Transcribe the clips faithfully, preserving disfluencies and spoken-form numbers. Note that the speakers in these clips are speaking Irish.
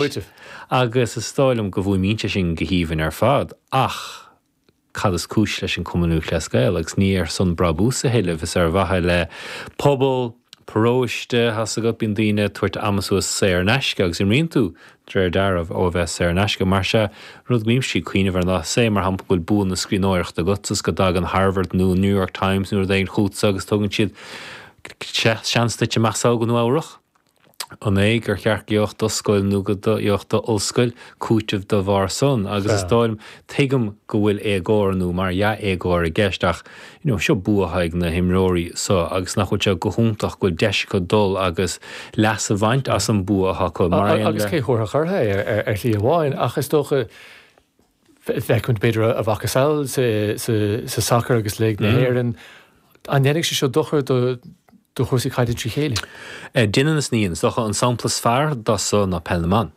Cúiteamh. Agus is dóigh liom go bhfuaimníonn sé sin go haoibhinn ar fad, ach cad is cúis leis an Cumann Lúthchleas Gael? Agus ní ar son brabús a thuilleamh, is ar mhaithe le pobal, paróiste, tá 's agat, bíonn daoine ag tabhairt ama suas saor in aisce agus imríonn tú, de réir dealraimh, ó a bheith saor in aisce. Mar sea, rud go mbímse ag cuimhneamh air ná, say, mar shampla, go bhfuil bua na scríbhneoireachta agat is go dtagann Harvard nó New York Times nó rud éigin chugatsa agus tugann siad seans duit imeacht sall go Nua Eabhrach. An é gur cheart go gheobhadh do scoil nó go gheobhadh d'ollscoil cúiteamh dá bharr san? Agus is dóigh liom, tuigim go bhfuil éagóir nó mar dhea éagóir i gceist ach you know seo bua atá ag na himreoirí so agus nach bhfuil sé go hiontach go bhfuil deis acu dul agus leas a bhaint as an bua atá acu mar aon Agus le. cé thabharfadh orthu é ar shlí amháin ach is dócha feicimid b'fhéidir a mhacasamhail sa sacar agus Léig na hÉireann. An ndéanfaidh sé seo dochar do do chúrsaí caide trí chéile? Déanann is ní dhéanann. Is dócha an sampla is fearr dá so ná Peil na mBan.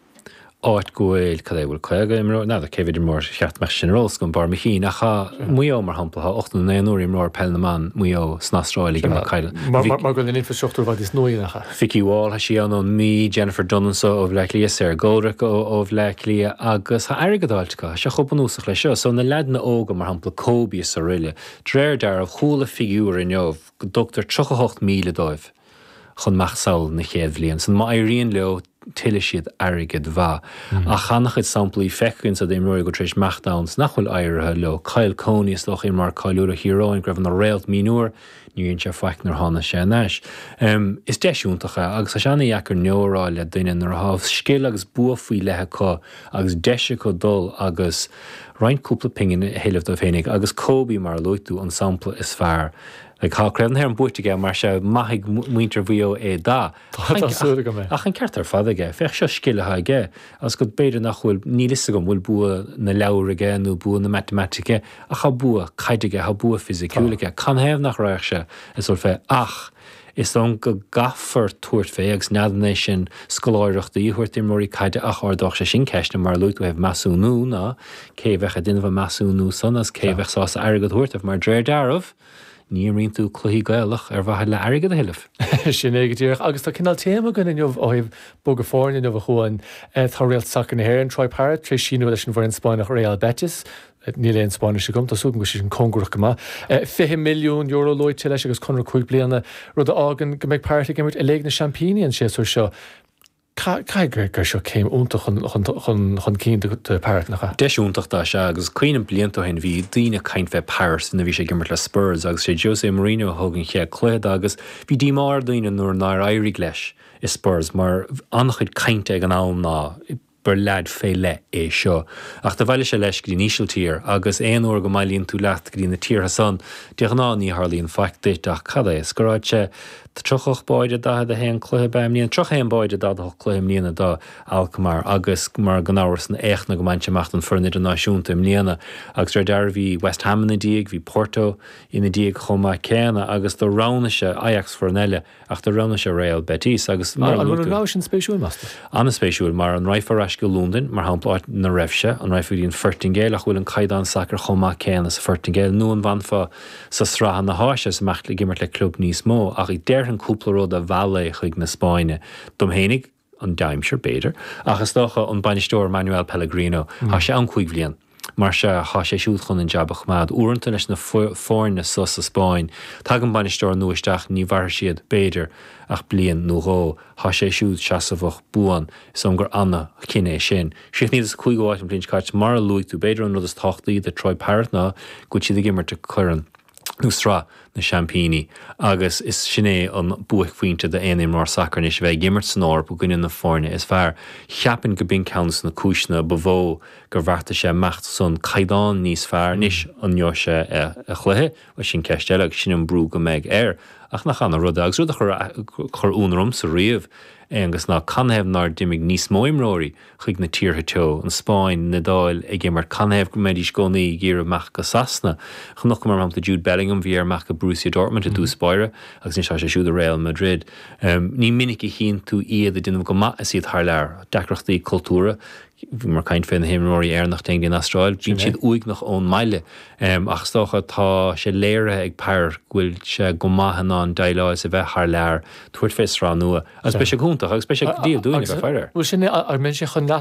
Áit go bhfuil, cad é, bhfuil caoga imreoir, n'fheadar cé mhéad imreoir cheart go mbeadh sin ar eolas agam, barr mo chinn, ach tá Maigh Eo, mar shampla, tá ochtó nó naonúr imreoir Peil na mBan Mhaigh Eo san Astráil ag imirt caide. Mar go bhfuil an infrastruchtúr i bhfad níos nuaí, nach ea? Vikki Wall, tá sí ann ón Mí, Jennifer Dunne anso ó Bhleá Cliath, Sarah Goldrick ó ó Bhleá Cliath agus tá airgead á fháilt acu, tá sé chomh bunúsach leis seo. So na leaideanna óga, mar shampla Kobe is araile, de réir dealraimh, chuala figiúr inniu, go dtugtar tríocha hocht míle dóibh chun imeacht sall na chéad bhliain san. Má éiríonn leo, tuillfidh siad airgead mhaith. Ach an-chuid samplaí feicthe againn d'imreoirí go bhfuil tar éis imeacht ann 's nach bhfuil éirithe leo. Kyle Coney, is dócha, imreoir cáiliúil ó Thír Eoghain go raibh ina réalt mionúir, níor dhein sé faic nuair a tháinig sé aneas. Is deis iontach é agus tá sé ana-dheacair no a rá le duine nuair atá scil agus bua faoi leith acu agus deis acu dul agus roinnt cúpla pingin a thuilleamh dóibh féinig agus Kobe, mar a luaigh tú, an sampla is fearr. Like, tá Craobh na hÉireann buaite aige, mar sea, maithfidh muintir Mhaigh Eo é dá. Tá súil agam é. Ach an ceart ar fad aige. Féach, seo scil atá aige, agus go b'fhéidir nach bhfuil, níl fhios agam, bhfuil bua na leabhar aige nó bua na matamaitice, ach tá bua caide aige, tá bua fisiciúil aige. Canathaobh nach raghadh sé ag dul fé? Ach is dóigh liom go gcaithfear tabhairt fé, agus n'fheadar an é sin scoláireachtaí a thabhairt d'imreoirí caide ach ardódh sé sin ceisteanna mar a luaigh tú ó thaobh measúnú ná cé a bheadh ag déanamh an measúnú san agus cé a bheadh sásta airgead a thabhairt dóibh mar de réir dealraimh ní imríonn tú cluichí Gaelach ar mhaithe le airgead a thuilleamh. Sin é go díreach. Agus tá cineál téama againn inniu ó thaobh bogadh foirne inniu a Chuain. Tá réalt sacair na hÉireann, Troy Parrott, tar éis síniú leis an bhfoireann Spáinneach Real Betis. Níl aon Spáinnis agam, tá súil agam go bhfuil sé sin cóngarach go maith. Fiche milliún euro luaite leis agus conradh cúig bliana, rud a fhágann go mbeidh Parrott ag imirt i Léig na Seaimpíní an séasúr seo. Caithfidh gur seo céim iontach chun cinn do Parrott, nach ea? Deis iontach dó, sea, agus cuimhním blianta ó shin bhí daoine ag caint fé Parrott nuair a bhí sé ag imirt le Spurs agus sé Jose Mourinho a thug an chéad cluiche dó agus bhí díomá ar daoine nuair nár éirigh leis i Spurs mar an-chuid cainte ag an am ná gur leaid fé leith é seo. Ach do bhailigh sé leis go dtí an Ísiltír agus aon uair go mbailíonn tú leat go dtí na tíortha san, de ghnáth ní tharlaíonn faic duit ach cad é, scóráil sé tríocha ocht báide daichead a haon cluiche ab ea i mbliana, tríocha haon báide daichead a hocht cluiche i mbliana do Alkmaar agus mar gan amhras an éachtanna go mbaint amach don foireann idirnáisiúnta i mbliana agus de réir dealraimh bhí West Ham ina diaidh, bhí Porto ina diaidh chomh maith céanna agus do roghnaigh sé Ajax foireann eile Ach do roghnaigh sé Real Betis agus, mar a An luaigh bhfuil an tú. rogha sin spéisiúil, meas tú? An-spéisiúil, mar an raghfá ar ais go Londain, mar shampla, áit 'na raibh sé, an raghfá go dtí an Phortaingéil, ach bhfuil an caighdeán sacair chomh maith céanna sa Phortaingéil, nó an bhfanfá sa sraith na hÁise is imeacht ag imirt le club níos mó? Ach déarfainn cúpla rud a mheall é chuig na Spáinne. Dom fhéinig, an dea-aimsir, b'fhéidir, ach is dócha an bainisteoir Manuel Pellegrino, tá sé ann cúig bhliain. Mar sea, tá sé siúd chun an jab a choimeád. Uaireanta leis na foirne so sa Spáinn, tagann bainisteoir nua isteach, ní mhairfidh siad, b'fhéidir, ach bliain nó dhó. Tá sé siúd seasamhach, buan. Is dóigh liom gur ana-chinneadh é sin. Chríochnaíodar sa cúigiú háit an bhliain seo caite. Mar a luaigh tú, b'fhéidir an rud is tábhachtaí do Troy Parrott ná go bhfuil siad ag imirt i gCorn nó Sraith na Seaimpíní agus is sin é an buaicphointe d'aon imreoir sacair anois, a bheith ag imirt san Eoraip i gcoinne na foirne is fearr. Cheapfainn go b'in ceann de na cúiseanna ba mhó gur bheartaigh sé imeacht san caighdeán níos fearr. Anois, an ngeobhaidh sé a chluiche? Bhuel, sin ceist eile agus sin an brú go mbeidh air. Ach nach ana-rud é? Agus rud a chuir ionadh ormsa riamh, Aonghus, ná canathaobh nár d'imigh níos mó imreoirí chuig na tíortha teo, an Spáinn, an Iodáil, ag imirt, canathaobh go mbeidís i gcónaí ag iarraidh imeacht go Sasana? Chonaiceamar, mar shampla, Jude Bellingham, bhí air imeacht go Borussia Dortmund i dtús báire agus anois tá sé siúd i Real Madrid. Ní minic a chíonn tú iad ag déanamh go maith is iad thar lear. Deacrachtaí cultúrtha, bhíomar ag caint fé na himreoirí Éireannach a théann go dtí an Astráil, bíonn siad uaigneach ón mbaile. Ach is dócha tá sé léirithe ag Parrott go bhfuil sé go maith in ann déileáil is a bheith thar lear, tabhairt fé sraith nua. Agus beidh sé go hiontach. iontach agus beidh sé go diail dúinn a bheith ag faire air. Bhuel sin an mbeidh sé chun leas